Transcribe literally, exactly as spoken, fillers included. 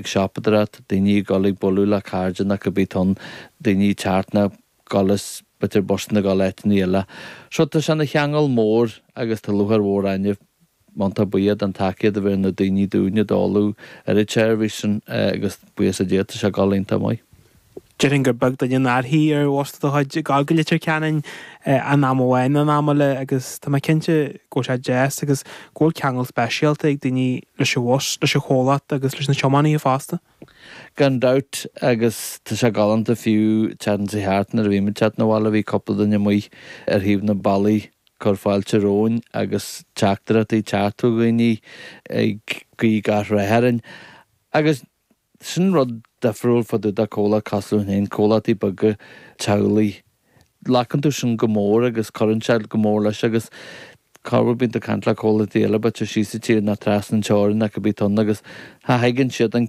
Ag siopadóireacht, daoine ag dul ag bualadh le cairde nó cibé atá ann, daoine ag teacht nó dul is b'fhéidir busanna ag dul áiteanna eile. So tá sé ina cheangal mór agus tá lúcháir mhór orainne iontach buíoch don tacaíocht a bhí ar na daoine dúinne ag dul ar an tseirbhís sin agus buíochas le Dia tá sé ag dul iontach maith. Déarfainn gur beag duine nár shuigh ar bhus de do chuid ag dul go Leitir Ceanainn in am amháin nó in am eile agus tá mé cinnte go bhfuil sé deas agus go bhfuil ceangal speisialta ag daoine leis an bhus, leis an chomhlacht agus leis na tiománaithe fosta. Gan dabht agus tá sé galánta fiú teacht sa cheart nuair a bhí muid teacht 'na bhaile bhí cúpla duine amuigh ar thaobh na bealaí cur fáilte romhainn agus teachtaireachtaí teacht ó dhaoine ag guí gach rath orainn. Agus sin rud difriúil fá dtaobh de comhlacht cosúil linn féin, comhlachtaí beaga teaghlaigh. Glacann tú sin go mór agus cuireann sé go mór leis agus corruair bíonn tú ag caint le comhlachtaí eile b'fhéidir síos sa tír nó trasna an teorainn nó cibé atá ann agus cha thuigeann siad an